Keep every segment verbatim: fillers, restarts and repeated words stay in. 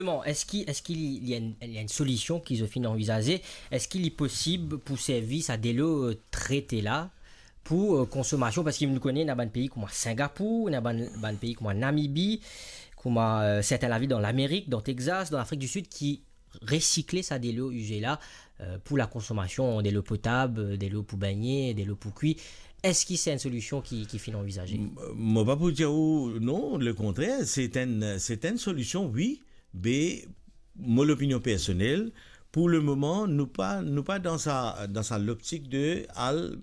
Bon, eski, eski li, li enn, li enn solision ki zot finn anvizaze? Eski li posib pou servi sa delo, eh, trete la pou, eh, konsomasion? Parski nou kone ena bann pei kouma Singapour, ena bann, bann pei kouma Namibi, kouma, eh, sertin lavil dan Lamerik, dan Texas, dan Lafrik di Sid ki resikle sa delo ize la, eh, pou lakonsomasion, delo potab, delo pou begne, delo pou kwi. Eski se enn solision ki, ki finn anvizaze? M-, mo pa pou dir ou non, lekontrer, se enn, se enn solision, wi, be mo lopinion personel, pou lemoman, nou pa, nou pa dan sa, dan sa loptik de al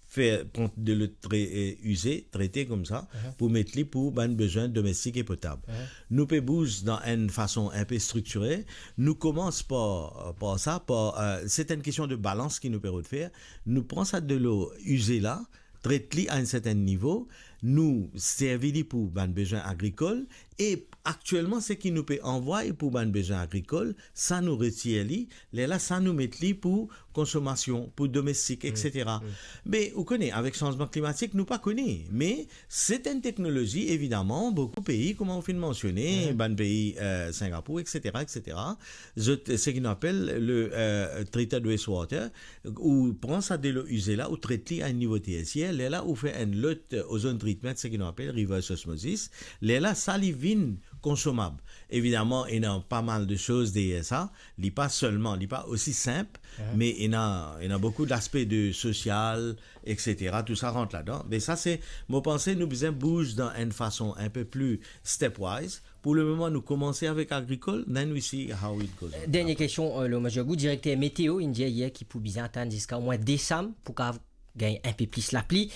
fer, pran delo tre-, eh, ize, trete koumsa, Mhm. pou met li pou bann bezwin domestik e potab. Mhm. Nou pe bouz dan enn fason inpe striktire. Nou koumans par, par sa, par, eh, se enn kestion de balans ki nou pe rod fer. Nou pran sa delo ize la, tret li a enn sertin nivo, nou servi li pou bann bezwin agrikol, e aktielman, seki nou pe anvway pou bann bezwin agrikol, sa nou retir li, lerla sa nou met li pou konsomasion, pou domestik, Mm, etsetera. mm. Me ou kone, avek sanzman klimatik, nou pa kone, me se enn teknolozi, evidaman, boukou pei, kouma ou finn mansione, Mm. bann pei, eh, Singapour, etsetera, etsetera, zot, seki nou apel le, eh, treated wastewater, ou pran sa delo ize la, ou tret li a enn nivo tersier, lerla ou fer enn lot, eh, ozone treatment, seki nou apel reverse osmosis, lerla sa li vinn konsomab. Evidaman, ena pa mal de soz deryer sa, li pa selman, li pa osi sinp, Mhm. me ena, ena boukou laspe de sosial, etsetera, tou sa rant ladan. Me sa se, mo panse nou bizin bouz dan enn fason inpe pli stepwise. Pou lemoman, nou koumanse avek agrikol, then we see how it goes on. Dernie kestion, eh, Lomax Jagou, direkter meteo, inn dir yer ki pou bizin atann ziska omwin desam pou kav gagn inpe plis lapli.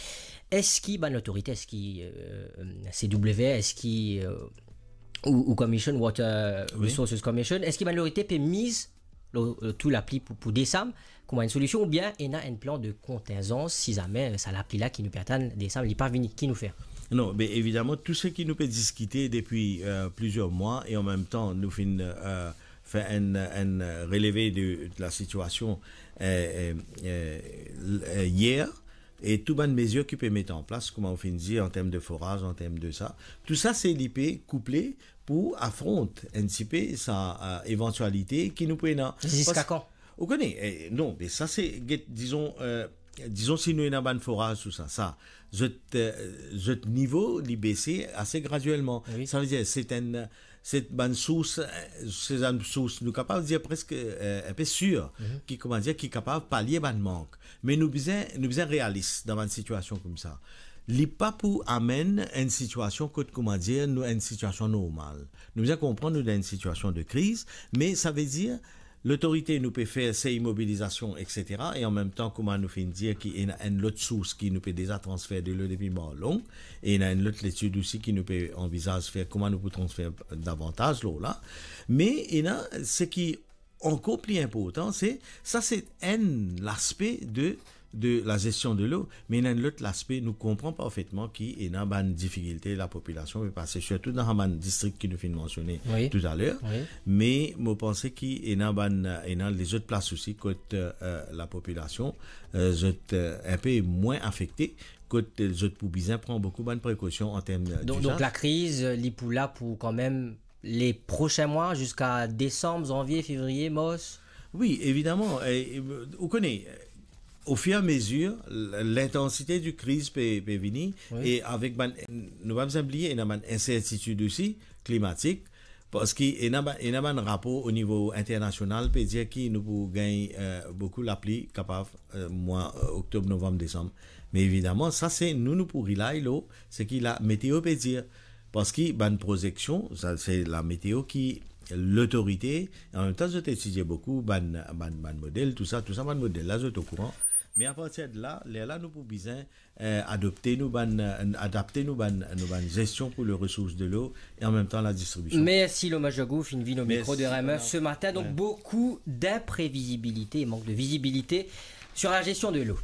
Eski bann lotorite, eski, eh, C W R, eski, eh, ou, ou Commission, Water Wi. Resources Commission, eski bann lotorite pe miz lor, eh, tou lapli pou, pou desam, kouma enn solision, oubien ena enn plan de kontingzans si zame, eh, sa lapli la ki nou pe atann desam, li pa vini, ki nou fer? Non, be evidaman, tou seki nou pe diskite depi, eh, plizier mwa, e an mem tan, nou finn, eh, fer enn, enn releve de, de lasitiasion, eh, eh, eh, l-, eh, yer, e tou bann mezir ki pe met an plas, kouma ou finn dir, an term de foraz, an term de sa. Tou sa, se li pe kouple pou afront enn tipe sa, eh, evantialite ki nou pou ena. Ziska Pas-, kan? Ou kone, eh, non, me sa se, get, dizon, eh, dizon si nou ena bann foraz, tou sa, sa, zot, eh, zot nivo, li bese ase gradielman. Wi. Savedir, se enn, se bann sours, eh, se bann sours, nou kapav dir preske, eh, inpe sir, Mhm. ki, kouma dir, ki kapav palie bann mank. Me nou bizin, nou bizin realis dan bann sitiasion koumsa. Li pa pou amenn enn sitiasion kot, kouma dir, nou enn sitiasion normal. Nou bizin konpran nou dan enn sitiasion de kriz, me savedir, lotorite nou pe fer sey mobilizasion, etsetera, e an mem tan, kouma nou finn dir ki ena enn lot sours ki nou pe deza transfer delo depi Marlong, e ena enn lot letid osi ki nou pe anvizaz fer, kouma nou pou transfer davantaz lor la. Me ena seki ankor pli inportan, se, sa se enn laspe de, de lazestion delo, me ena enn lot laspe, nou konpran parfetman ki ena bann difikilte lapopilasion pe pase, sirtou dan sa bann distrik ki nou finn mansione Wi. toutaler, Wi. me mo panse ki ena bann, ena lezot plas osi kot, eh, lapopilasion, eh, zot, eh, inpe mwin afekte, kot, eh, zot pou bizin pran boukou bann prekosion an term, eh, Donk, donk dizaz. Lakriz, eh, li pou la pou kanmem le prosin mwa, ziska desam, zanvie, fevriye, mars? Wi, evidaman, eh, eh, ou kone, eh, ofirameazir, l-, lintansite di kriz pe, pe vini, Wi. e avek bann, nou pa bizin bliye, ena bann insertitid osi, klimatik, parski ena ba-, ena bann rapor o nivo internasional pe dir ki nou pou gagn, eh, boukou lapli kapav, eh, mwa, eh, oktob, novanm, desam. Me evidaman, sa se nou, nou pou rely lor seki lameteo pe dir. Parski bann prozeksion, sa se lameteo ki lotorite, an mem tan zot etidie boukou bann, bann, bann model, tou sa, tou sa bann model la, zot okouran. Me apartir de la, lerla nou pou bizin, eh, adopte nou bann, eh, adapte nou bann, nou bann zestion pou le resours delo e an mem tan ladistribision. Mersi Lomax Jagou, finn vinn o mikro Mersi, de R M F Bernard. se matin. Donk, Wi. boukou dinprevizibilite, mank de vizibilite sur la gestion de l'eau.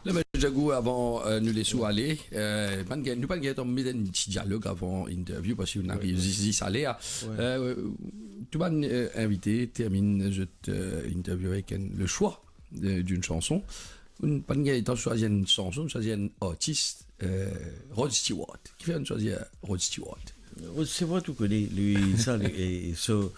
Lomax Jagou, avan, eh, nou les ou ale, eh, pa'nn gagn, nou pa'nn gagn met enn ti dialog avan interview, parski nou ariv Wi, wi. zis, zis ale, ah. Wi. Eh, tou bann, eh, invite terminn zot, eh, interview avek enn, le choix de, d'une chanson. Nou pa'nn gagn letan swazir enn sanson, nou swazir enn artis, eh, Rod Stewart. Kifer nou swazir Rod Stewart? Rod Stewart, ou kone, li, sa, li, e, so,